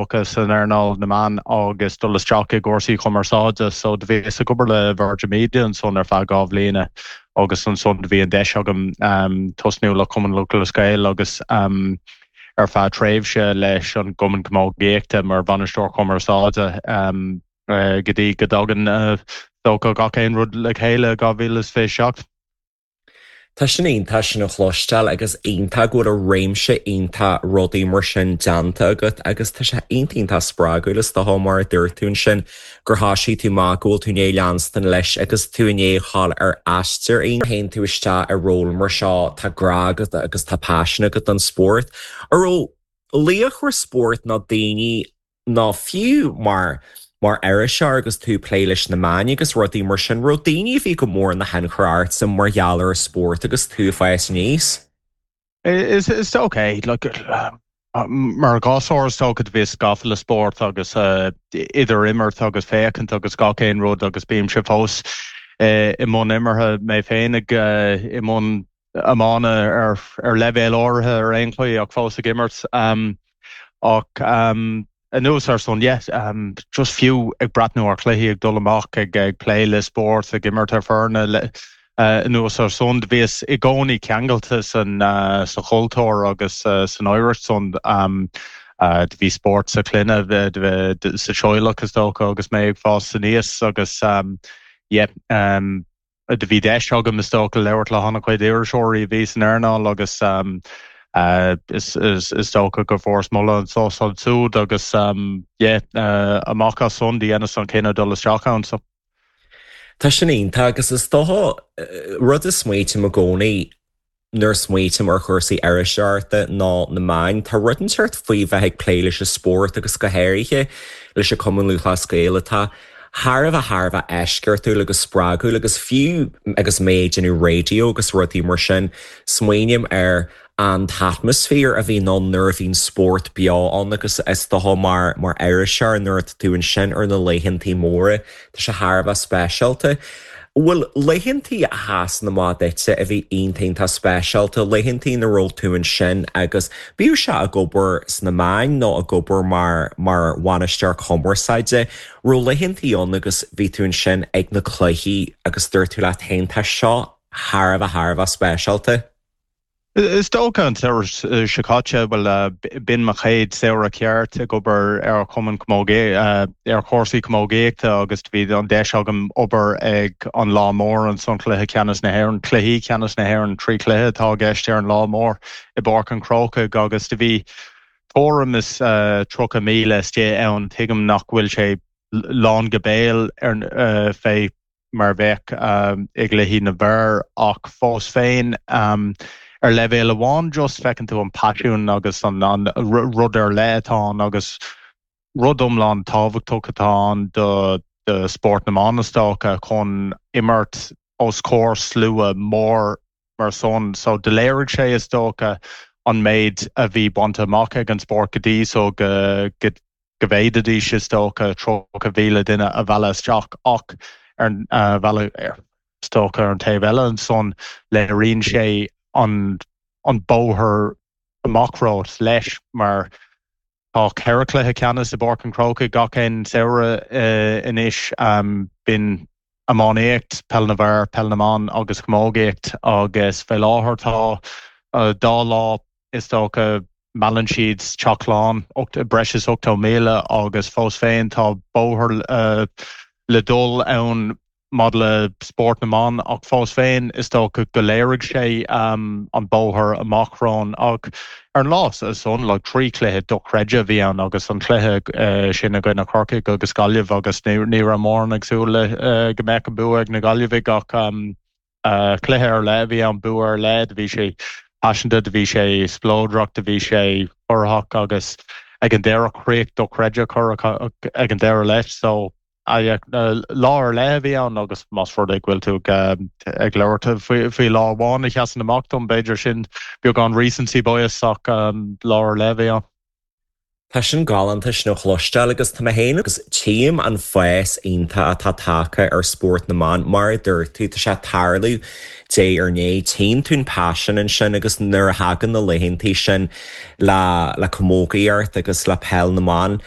dócha san earnáil na meán agus dul isteach i gcúrsaí cumarsáide. So do bhíos ag obair le Virgin Media ansan ar feadh 2 bhliana agus ansan do bhí an deis agam tosnú le Cumann Lúthchleas Gael agus ar feadh tréimhse leis an gCumann Camógaíochta mar bhainisteoir cumarsáide go dtí go dtagann is dócha gach aon rud le chéile i 2027. Tá sin iontach sin a chloisteáil agus iontach go bhfuil réimse iontach rudaí mar sin déanta agat agus tá sé iontach iontach spreagúil is dócha mar a dúirt tú ansin gur thosaigh tú amach go bhfuil tú i ndiaidh leanstan leis agus tú i ndiaidh dhul ar aistear iontach. Théann tú isteach i ról mar seo tá grá agat agus tá paisean agat don spórt. An raibh laochra spóirt nó daoine nó fiú mar mar iriseoir agus tú ag plé leis na meáin agus rudaí mar sin, raibh daoine a bhí go mór ina thionchar ortsa mar gheall ar an spórt agus tú ag fás aníos? Is is dócha, like, mar ghasúr is dócha do bhíos gafa le spórt agus idir imirt agus féachaint agus gach aon rud agus bímse fós i mbun imeartha mé féin ag i mbun iomána ar ar leibhéal áirithe ar aon chaoi ach fós ag imirt. Ach anuas ar san, yeah, just fiú ag breathnú ar chluichí, ag dul amach, ag ag plé le spórt, ag imirt ar foirne, anuas ar san, do bhíos i gcónaí ceangailte san sa chultúr agus san oidhreacht san. Do bhí spórt sa chlann, sa teaghlach is dócha agus mé ag fás aníos agus yeah, Do bhí deis agam, is dócha, labhairt le han-chuid iriseoirí a bhí san earnáil agus is dócha go bhfuaireas moladh anso is ansúd agus yeah, amach as san, do dheineas an cinneadh dul isteach ann. So. Tá sin iontach agus is dócha rud a smaoitím i gcónaí Nuair a smaoitím ar chúrsaí iriseoireachta nó na meáin, tá rud inteacht faoi bheith ag plé leis an spórt agus go háirithe leis an Cumann Lúthchleas Gael atá thar a bheith thar a bheith eisceachtúil agus spreagúil agus fiú agus mé ag déanamh raidió agus rudaí mar sin, smaoiním ar an t-atmaisféar a bhíonn ann nuair a bhíonn spórt beo ann agus is dócha mar mar iriseoir nuair atá tú ansin ar na laethantaí móra, Tá sé thar a bheith speisialta. Bhfuil laethantaí a sheasann amach duitse a bhí iontach iontach speisialta, laethantaí ina raibh tú ansin agus bíodh sé ag obair sna meáin nó ag obair mar mar bhainisteoir cumarsáide, raibh laethantaí ann agus bhí tú ansin ag na cluichí agus dúirt tú leat féin tá seo thar a bheith thar a bheith speisialta? Is dócha an samhradh seo caite, bhuel, b'in mo chéad samhradh ceart ag obair ar Chumann ar chúrsaí camógaíochta agus bhí an deis agam obair ag an lá mór ansan, Cluiche Ceannais na hÉireann, Cluichí Ceannais na hÉireann, 3 chluiche atá i gceist ar an lá mór i bPáirc an Chrócaigh agus do bhí tuairim is 30,000 istigh ann. Tuigim nach bhfuil sé lán go béal ar fé mar a bheadh i gcluichí na bhfear ach fós féin ar leibhéal amháin just feiceann tú an paisean agus an rud ar leith atá ann agus rud iomlán tábhachtach atá ann do spórt na mban is dócha chun imirt os comhair slua mór mar san. So do léirigh sé is dócha an méid a bhí bainte amach ag an spórt go dtí so go go bhféadfaidís is dócha 30,000 duine a mhealladh isteach ach ar an mhealladh is dócha ar an taobh eile ansan léiríonn sé an an bóthar amach romhat leis mar tá 4 chluiche ceannais i bPáirc an Chrócaigh gach aon samhradh anois. B'in iománaíocht, peil na bhfear, peil na mban agus camógaíocht agus fé láthair tá dá lá is dócha meallann siad teach lán, breis is 80,000 agus fós féin tá bóthar le dul ann maidir le spórt na mban ach fós féin is dócha go léirigh sé an bóthar amach romhainn ach ar an lá san like 3 chluiche dochreidte a bhí ann agus an cluiche sin i gcoinne Chorcaigh agus Gaillimh agus ní raibh mórán ag súil le go mbeadh an bua ag na Gaillimhigh ach cluiche ar leith a bhí ann, bua ar leith, do bhí sé paiseanta, do bhí sé spleodrach, do bhí sé corraitheach agus ag an deireadh críoch dochreidte curtha ag an deireadh leis so lá ar leith a bhí ann agus más rud é go bhfuil tú ag labhairt faoi lá amháin a sheasann amach dom, b'fhéidir sin beagán recency bias ach lá ar leith a bhí ann. Tá sin galánta sin a chloisteáil agus tá mé féin agus tchím an fás iontach atá tagtha ar spórt na mban. Mar a dúirt tú, tá sé ag tarlú diaidh ar ndiaidh. Tchíonn tú an paisean ansin agus nuair a thagann na laethantaí sin le le camógaíocht agus le peil na mban.